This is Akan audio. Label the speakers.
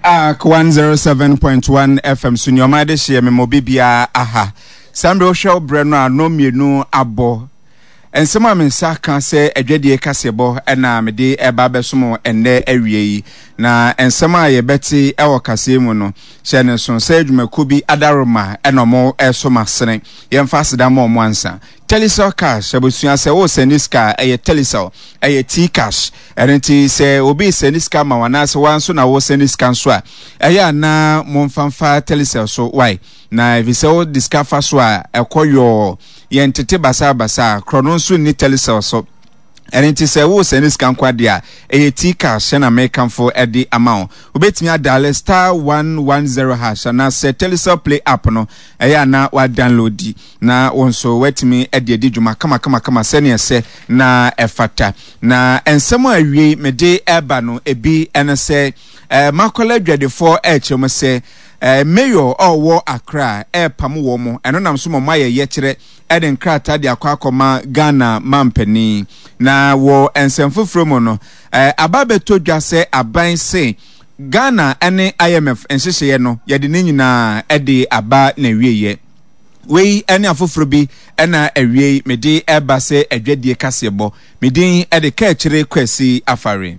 Speaker 1: Ark 107.1 FM so nneɛma de hyeɛ me mɔ bibiara aha. Saa mmerɛ wohwɛ wo berɛ no a nnɔn mmienu abɔ. Nsɛm a me nsa ka sɛ adwadie kaseɛbɔ na mede ɛba abɛsom ɛnnɛ awie yi. Na nsɛm a yɛbɛte wɔ kaseɛ mu no, hyɛ no nso sɛ adwumakuo bi adaworoma na wɔn ɛreso m'asene. Yɛmfa aseda mma wɔn ansa. Telecel Cash abusua sɛ wo sɛnde sika a ɛyɛ Telecel, ɛyɛ T-Cash. Ɛno nti sɛ obi resɛnde sika ma wo anaasɛ wo ara nso na woresɛnde sika nso a, ɛyɛ a na momfa mfa Telecel so wae. Na efisɛ wode sika fa so a, ɛkɔ yɔɔ. Yɛntete basabasa, korɔno nso nni Telecel so. Ɛno nti sɛ woresɛnde sika nko adeɛ a, ɛyɛ T-Cash na mekamfo de ama wo. Wobɛtumi adale *110# anaasɛ Telecel Play app no, ɛyɛ a na woadownloadi na wo nso woatumi de adi dwuma kamakamakama sɛnea ɛsɛ na ɛfata. Na nsɛm a awiei mede reba no, ebi ne sɛ, eh, Makola adwadifoɔ rekyerɛ mu sɛ, eh, Mayor a ɔwɔ Accra repam wɔn, ɛno nam so ma wɔayɛ yɛkyerɛ de nkrataa de akɔ akɔma Ghana mampanin. Na wɔ nsɛm foforɔ mu no, eh, aba abɛtɔ dwa sɛ aban se Ghana ne IMF nhyehyɛeɛ no, yɛde ne nyinaa de aba n'awieeɛ. Wei ne afoforɔ bi na awiei mede reba sɛ adwadie kaseɛbɔ. Me din de Kaakyire Kwasi Afare.